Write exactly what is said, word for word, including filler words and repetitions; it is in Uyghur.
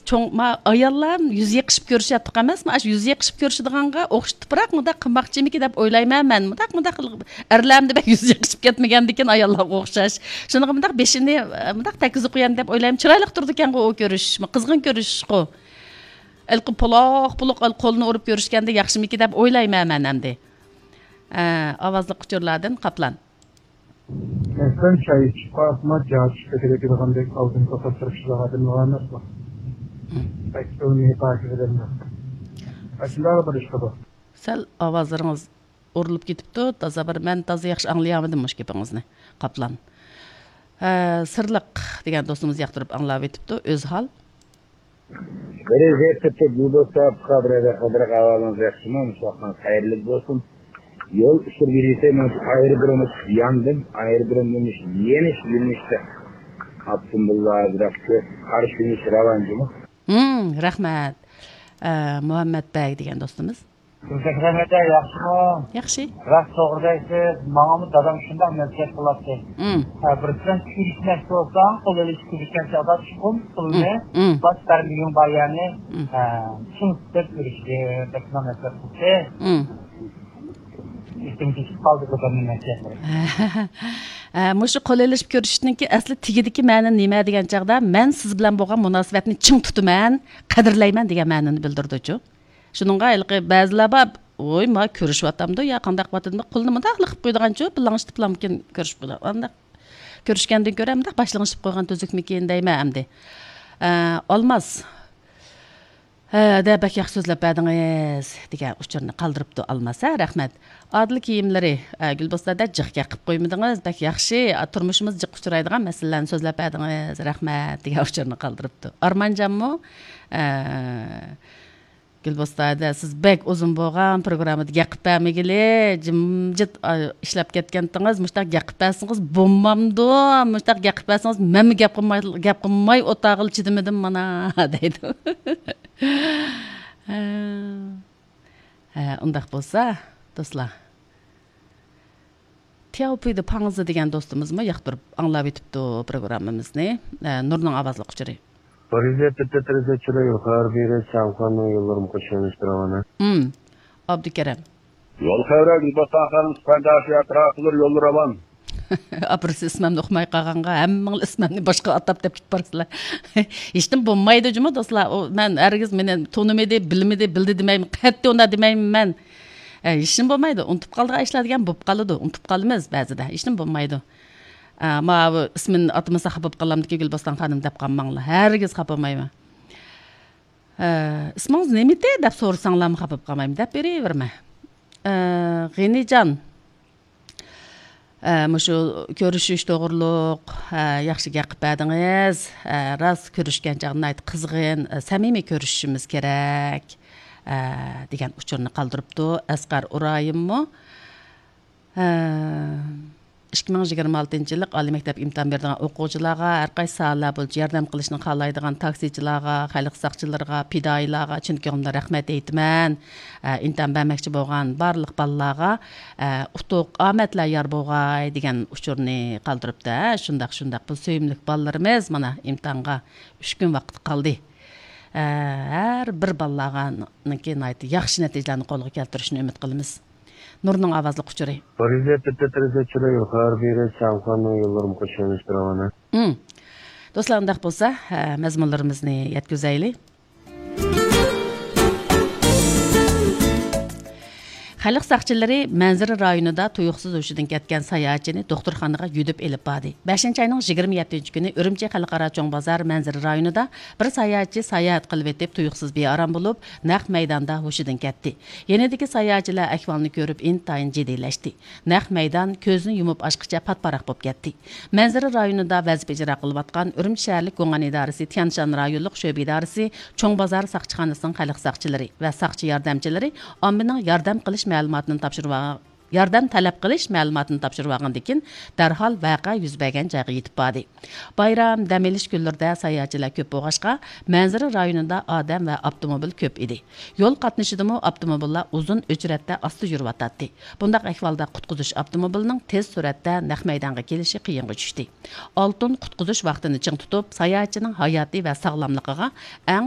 چوڭ، ما، ئاياللار يۈز يېقىشىپ كۆرۈشۈۋاتتۇق ئەمەسمۇ؟ ئاشۇ يۈز يېقىشىپ كۆرۈشىدىغانغا ئوخشىتىپراق مۇنداق قىلماقچىمىكىن دەپ ئويلايمەن مەن. مۇنداق، مۇنداق ئەرلەرمۇ بەك يۈز يېقىشىپ كەتمىگەندىكىن ئاياللارغا ئوخشاش. شۇنىڭغا مۇنداق بېشىنى، مۇنداق تەككۈزۈپ قويامدۇ دەپ ئويلايمەن. چىرايلىق تۇرىدىكەنغۇ ئۇ كۆرۈشۈشمۇ، قىزغىن كۆرۈشۈشقۇ. ھېلىقى پۇلاق پۇلۇق قولنى ئۇرۇپ كۆرۈشكەندە ياخشىمىكىن دەپ ئويلايمەن مەن ئەمدى. ئە، ئاۋازلىق ئۇچۇرلاردىن قاپلان. مەسىلەن، چاي ئىچىپ قالسىمۇ، جاغ چۈشۈپ كېتىدىغاندەك ئالدىن توختاپ تۇرۇشىدىغان ئادەملەر ئەمەسمۇ؟ بەك ئىلمىي پاكىز ئادەملەر. ئاشۇنداق بىر ئىش بۇ. سەل ئاۋازلىرىڭىز ئۇرۇلۇپ كېتىپتۇ. تازا بىر، مەن تازا ياخشى ئاڭلىيالمىدىم مۇشۇ گېپىڭىزنى، قاپلان. ھە، سىرلىق دېگەن دوستىمىز ياقتۇرۇپ ئاڭلاۋېتىپتۇ، ئۆزھال. بىرى زېرتىپ بۇ دوستلار، بۇقا بىرەر قىلدىرىق ئەھۋالىڭىز ياخشىمۇ؟ مۇشۇ ۋاقتىڭىز خەيرلىك بولسۇن. يول ئۇچۇر بېرىسى، مەن ئايرودرومدا ياندىم. ئايرودرومدىن يېنىش يۆنىلىشتە ئاپتوموبىللار بىراق قارشى يۆنىلىش راۋان جۇمۇ. ھىم، رەھمەت. ئە، مۇھەممەت بەگ دېگەن دوستىمىز. گۈلچېھرە ئەمەتە، ياخشىمۇ؟ ياخشى. راست، توغرا دەيسىز. ماڭىمۇ دادام شۇنداق نەسىھەت قىلاتتى. ھىم. ھە، بىرسى بىلەن كۆرۈشمەكچى بولساڭ، قول ئېلىشىپ كۆرۈشكەن چاغدا چوقۇم قولىنى، ھىم، ھىم، باش بەرمىگىن بار يەرنى، ھىم، ھە، چىڭ تۇتۇپ كۆرۈشكىن دەپ شۇنداق نەسىھەت قىلدى. ھىم. ئېسىمگە چۈشۈپ قالدى دادامنىڭ نەسىھەتلىرى. ھە، مۇشۇ قول ئېلىشىپ كۆرۈشۈشنىڭكى ئەسلى تېگىدىكى مەنە نېمە دېگەن چاغدا، مەن سىز بىلەن بولغان مۇناسىۋەتنى چىڭ تۇتىمەن، قەدىرلەيمەن دېگەن مەنىنى بىلدۈرىدۇچۇ. شۇنىڭغا ھېلىقى بەزىلەر بار، ۋوي، ما كۆرۈشۈۋاتامدۇ يا قانداق قىلىۋاتىدۇ، قولىنى مۇنداقلا قىلىپ قويىدىغانچۇ، بىر لىڭشىتىپلامكىن كۆرۈشۈپ قويىدۇ. ئانداق كۆرۈشكەندىن كۆرە مۇنداق باش لىڭشىتىپ قويغان تۈزۈكمىكىن دەيمەن ئەمدى. ئە، ئالماس. ھە، دە، بەك ياخشى سۆزلەپ بەردىڭىز، دېگەن ئۇچۇرنى قالدۇرۇپتۇ ئالماس. ھە، رەھمەت. ئادىل كىيىملىرى، ئە، گۈلبوستاندا جىق گەپ قىلىپ قويمىدىڭىز، بەك ياخشى، ئا، تۇرمۇشىمىز جىق ئۇچرايدىغان مەسىلىلەرنى سۆزلەپ بەردىڭىز، رەھمەت، دېگەن ئۇچۇرنى قالدۇرۇپتۇ. ئارمانجانمۇ، ئە، گۈلبوستاندا سىز بەك ئۇزۇن بولغان پروگراممىدا گەپ قىلىپ بەرمىگىلى، جىمجىت، ئا، ئىشلەپ كەتكەنتىڭىز، مۇشۇنداق گەپ قىلىپ بەرسىڭىز بولمامدۇ؟ مۇشۇنداق گەپ قىلىپ بەرسىڭىز مەنمۇ گەپ قىلماي، گەپ قىلماي ئولتۇرغىلى چىدىمىدىم مانا، دەيدۇ. ھە، ئۇنداق بولسا، دوستلار. تياۋپۈيدە پاڭزى دېگەن دوستىمىزمۇ ياقتۇرۇپ ئاڭلاۋېتىپتۇ پروگراممىمىزنى. ئە، نۇرنىڭ ئاۋازلىق ئۇچۇرى. پارىژدە تۆتتە تېرېزا چىراي، يۇقىرى بېرى، چاڭخۇاننىڭ يوللىرىمۇ قوشۇلۇش راۋانە. ھىم، ئابدۇكەرەم. يول خەۋرە، گۈلبوستان خانىم، سىپەنداشى ئەتراپلىرى يوللىرى راۋان. ئاپىرىسى ئىسمىمنى ئۇقماي قالغانغا، ھەممىڭلار ئىسمىمنى باشقا ئاتاپ دەپ كېتىپ بارىسىلەر. ھېچنېمە بولمايدۇ جۇمۇ دوستلار. ئۇ، مەن ھەرگىز مېنى تونۇمىدى، بىلمىدى، بىلدى دېمەيمەن. قەتئىي ئۇنداق دېمەيمەن مەن. ئە، ھېچنېمە بولمايدۇ. ئۇنتۇپ قالىدىغان ئىشلار دېگەن بولۇپ قالىدۇ. ئۇنتۇپ قالىمىز بەزىدە. ھېچنېمە بولمايدۇ. ئە، ماۋۇ ئىسمىنى ئاتىمىسا خاپا بولۇپ قالامدىكى گۈلبوستان خانىم دەپ قالماڭلار. ھەرگىز خاپا بولمايمەن. ئە، ئىسمىڭىز نېمىتى دەپ سورىساڭلارمۇ خاپا بولۇپ قالمايمەن دەپ بېرىۋېرىمەن. ئە، غېنىجان. ئە، مۇشۇ كۆرۈشۈش توغرۇلۇق، ئە، ياخشى گەپ قىلىپ بەردىڭىز. ئە، راست كۆرۈشكەن چاغدا ناھايىتى قىزغىن، ئە، سەمىمىي كۆرۈشۈشىمىز كېرەك، ئە، دېگەن ئۇچۇرنى قالدۇرۇپتۇ ئەسقەر ئۇرايىممۇ. ئە، ئىككى مىڭ يىگىرمە ئالتىنچى يىللىق ئالىي مەكتەپ ئىمتىھان بېرىدىغان ئوقۇغۇچىلارغا، ھەر قايسى ساھەلەر بويىچە ياردەم قىلىشنى خالايدىغان تاكسىچىلارغا، خەلق ساقچىلىرىغا، پىدائىيلارغا چىن كۆڭلۈمدىن رەھمەت ئېيتىمەن. ئە، ئىمتىھان بەرمەكچى بولغان بارلىق بالىلارغا، ئە، ئۇتۇق، ئامەتلەر يار بولغاي دېگەن ئۇچۇرنى قالدۇرۇپتۇ. ھە، شۇنداق، شۇنداق. بۇ سۆيۈملۈك بالىلىرىمىز مانا ئىمتىھانغا ئۈچ كۈن ۋاقىت قالدى. ئە، ھەر بىر بالىلارغا نىڭكى ناھايىتى ياخشى نەتىجىلەرنى قولغا كەلتۈرۈشىنى ئۈمىد قىلىمىز. نۇرنىڭ ئاۋازلىق ئۇچۇرى. پارىژدە تۆتتە تېرېزا چىراي، يۇقىرى بېرى، چاڭخۇاننىڭ يوللىرىمۇ قوشۇلۇش راۋانە. ھىم. دوستلار، ئۇنداق بولسا، ھە، مەزمۇنلىرىمىزنى يەتكۈزەيلى. خەلق ساقچىلىرى مەنزىرە رايونىدا تۇيۇقسىز ھوشىدىن كەتكەن ساياھەتچىنى دوختۇرخانىغا يۈدۈپ ئېلىپ باردى. بەشىنچى ئاينىڭ يىگىرمە يەتتىنچى كۈنى ئۈرۈمچى خەلقئارا چوڭ بازار مەنزىرە رايونىدا بىر ساياھەتچى ساياھەت قىلىۋېتىپ تۇيۇقسىز بىئارام بولۇپ، نەق مەيداندا ھوشىدىن كەتتى. يېنىدىكى ساياھەتچىلەر ئەھۋالنى كۆرۈپ ئىنتايىن جىددىيلەشتى. نەق مەيدان كۆزنى يۇمۇپ ئاچقىچە پات-پاراق بولۇپ كەتتى. مەنزىرە رايونىدا ۋەزىپە ئىجرا قىلىۋاتقان ئۈرۈمچى شەھەرلىك گوڭئەن ئىدارىسى تيەنشان رايونلۇق شۆبە ئىدارىسى چوڭ بازار ساقچىخانىسىنىڭ خەلق ساقچىلىرى ۋە ساقچى ياردەمچىلىرى ئاممىنىڭ ياردەم قىلىش مەلۇماتىنى تاپشۇرۇۋالغان، ياردەم تەلەپ قىلىش مەلۇماتىنى تاپشۇرۇۋالغاندىن كېيىن، دەرھال ۋەقە يۈز بەرگەن جايغا يېتىپ باردى. بايرام، دەم ئېلىش كۈنلىرىدە ساياھەتچىلەر كۆپ بولغاچقا، مەنزىرە رايونىدا ئادەم ۋە ئاپتوموبىل كۆپ ئىدى. يول قاتنىشىدىمۇ ئاپتوموبىللار ئۇزۇن ئۆچرەتتە ئاستا يۈرۈۋاتاتتى. بۇنداق ئەھۋالدا قۇتقۇزۇش ئاپتوموبىلىنىڭ تېز سۈرئەتتە نەق مەيدانغا كېلىشى قىيىنغا چۈشتى. ئالتۇن قۇتقۇزۇش ۋاقتىنى چىڭ تۇتۇپ، ساياھەتچىنىڭ ھاياتى ۋە ساغلاملىقىغا ئەڭ